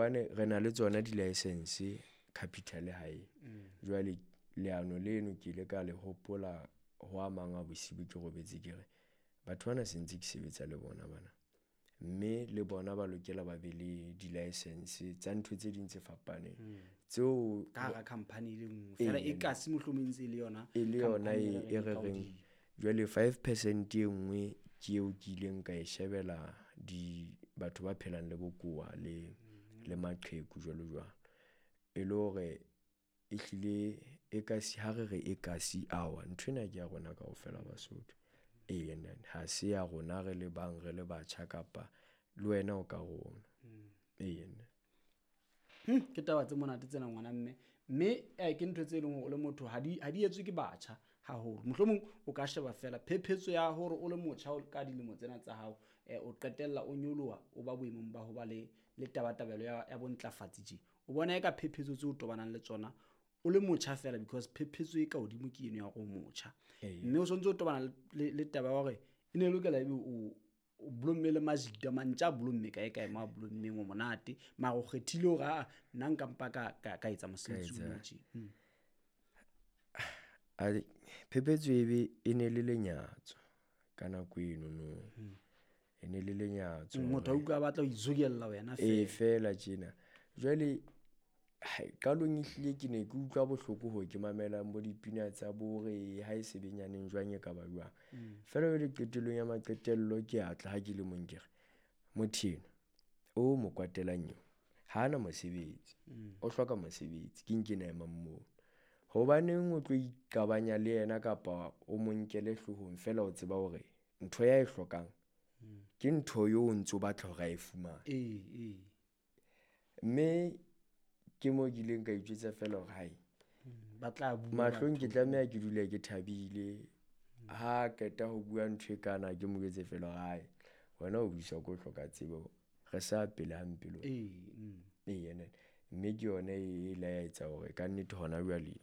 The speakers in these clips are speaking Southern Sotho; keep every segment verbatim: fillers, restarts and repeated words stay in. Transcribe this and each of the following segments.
Hobane re na le tsona di-licence capital hae. Jwale leano leno ke ile ka le hopola ho a mang a bosibu ke robetse ke re, batho bana se ntse ke sebetsa le bona bana. Mme le bona ba lokela ba be le di-licence tsa ntho tse ding tse fapaneng. Tseo Ka hara company e le nngwe feela, e kasi mohlomong e ntse e le yona. E le yona company e e e reng re e ka reng hodimo. Jwale five percent e nngwe ke eo ke ileng ka e shebela di batho ba phelang le bokowa le le maqheku jwalo jwalo. E le hore ehlile e kasi ha re re e kasi awa nthwena ke ya rona kaofela Basotho. Eya ha se ya rona re le bang re le batjha kapa le wena o ka rona. Eya. Hmm, ke taba tse monate tsena ngwana mme. Mme eh, ke ntho tse leng hore o le motho ha di ha di etswe ke batjha haholo. Mohlomong o ka sheba fela phephetso ya hore o le motjha o ka dilemo tsena tsa hao, eh, o qetella o nyoloha o ba boemong ba ho ba le le tabatabelo ya ya bontlafatsi tje. O bona eka phephetso tseo o tobanang le tsona o le motjha fela, because phephetso e ka hodimo ke eno ya hore o motjha. Eya. Mme o sontso o tobana le le taba ya hore e ne e lokela ebe o o blomme le majita mantja a blomme kae kae mo a blommeng o monate, mara o kgethile hore aa nna nka mpa ka ka ka etsa mosebetsi Ka o etsa. tje. Hmm. A phephetso e be e ne le lenyatso ka nako eno no. E ne le lenyatso. Motho a utlwa a batla ho izokella wena E fela. Fela tjena. Jwale hai qalong ehlile ke ne ke utlwa bohloko ho ke mamelang bo dipina tsa bo re ha e se benyaneng jwang e ka ba jwang. Feela jwale qetellong ya maqetello ke a tla ha ke le mong ke re motho enwa o mo kwatelang eo ha ana mosebetsi, o hloka mosebetsi ke nkena emang moo. Hobaneng o tlo iqabanya le yena kapa o mo nkele hloohong feela o tseba hore ntho ya e hlokang ke ntho eo o ntso batla hore a e fumane. Ee, ee. Mme ke moo ke ileng ka itjwetsa feela hore hai Ba tla bua mahlong ke batho. tlameha ke dule ke thabile. Ha qeta ho bua ntho e kana ke mo jwetse feela hore hai wena o buiswa ke ho hloka tsebo, re sa pele hampe le wena. Ee, mm. Eya nene. Mme ke yona e ile ya etsa hore kannete hona jwale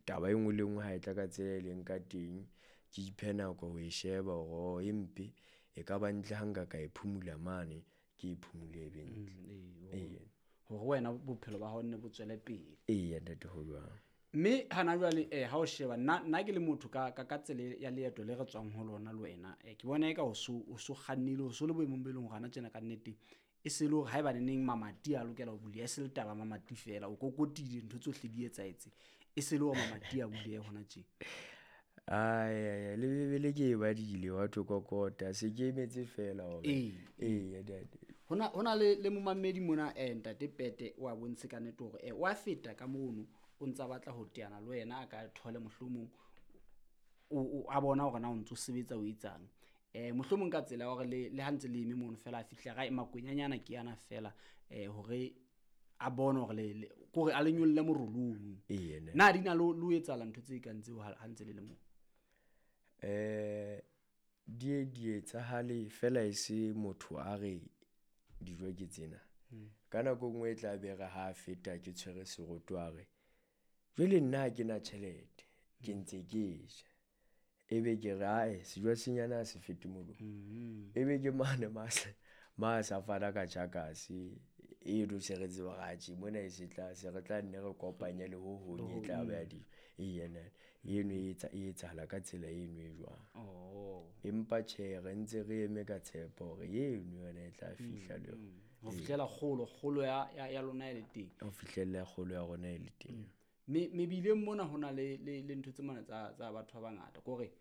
taba e nngwe le nngwe ha e tla ka tsela e leng ka teng, ke iphe nako ho e sheba hore e mpe e ka ba ntle ha nka ka e phumula mane, ke e phumule e be ntle. Mm, ee, Eya. Hore wena bophelo ba hao nne bo tswele pele. Eya ntate, ho jwang. Mme hana jwale eh ha o sheba nna nna ke le motho ka ka ka tsela ya leeto le re tswang ho lona le wena, eh ke bona eka o so o so kgannile, o so le boemong bo e leng hore hana tjena ka nnete e se le hore haeba neneng mamati a lokela ho buleha, e se le taba mamati fela o kokotile ntho tsohle di etsahetse, e se le hore mamati a bulehe hona tje. Ai le Bebele ke e badile wa thwe kokota se ke emetse fela hore Ee. eya ntate. Hona hona le le momamedi mona eh ntate Pete o a bontshe ka nnete hore eh o a feta ka mono o ntsa batla ho teana le wena a ka thole mohlomong o o a bona hore na o ntso sebetsa o etsang. Eh mohlomong ka tsela ya hore le le ha ntse le eme mono fela a fihla ra makwenyanyana ke yana fela eh hore a bone hore le kore a le nyolle morolong. Eya ntate. Na di na lo lo etsahala ntho tse kang tseo ha ntse le le moo? Eh di e di etsahale fela e se motho a re dijo ke tsena. Ka nako e nngwe e tla be re ha feta ke tshwere seroto a re jwale nna ha ke na tjhelete ke ntse ke ja. Ebe ke re ae sejo senyana ha se fete molomo. Ebe ke mane ma ma sa fana ka tjhakase eno se re tseba hore atjhe mona e se tla se re tla nne re kopanye le ho hong e tla ba ya dijo. Eya ntate eno e etsa e etsahala ka tsela eno e jwang. Oh. Empa tjhe re ntse re eme ka tshepo hore eno yona e tla fihla le yona. Ho fihlela kgolo kgolo ya ya ya lona e le teng. Ho fihlella kgolo ya rona e le teng. Me mebileng mona hona le le le ntho tse mona tsa tsa batho ba bangata kore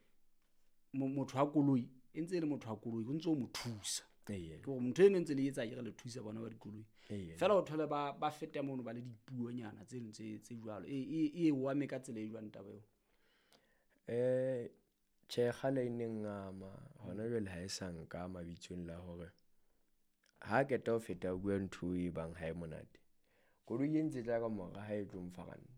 motho wa koloi e ntse e le motho wa koloi o ntso mo thusa. Eya. Ke hore motho eno ntse le etsa akere le thusa bona ba dikoloi. Eya. Fela o thole ba ba feta mono ba le dipuonyana tse tse tse jwalo. E e e o ame ka tsela e jwang taba eo? Eh tjhe kgale e ne ngama hona jwale ha e sa nka mabitsong la hore ha qeta ho feta bua ntho e bang ha e monate. Koloi e ntse tla ka mora ha e tlo mpha ranta.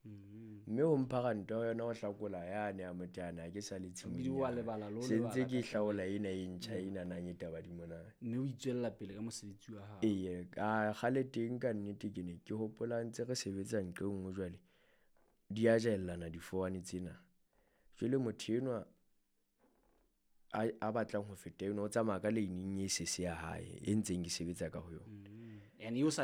Mme ho mpha ranta ho yona ho hlakola yane ya motana ha ke sa le tshimong. Ebile wa lebala le ho Se ntse lebala ke ka hlaola ena e ntjha ena nang e taba di mona. Mme o itswella pele ka mosebetsi wa hao. Eya, a kgale teng ka nnete ke ne ke hopola ntse re sebetsa nqe nngwe jwale. Di a jellana difowane tsena. Jwale motho enwa a a batlang ho feta eno o tsamaya ka lane e sese ya hae e ntseng ke sebetsa ka ho yona. And eo sa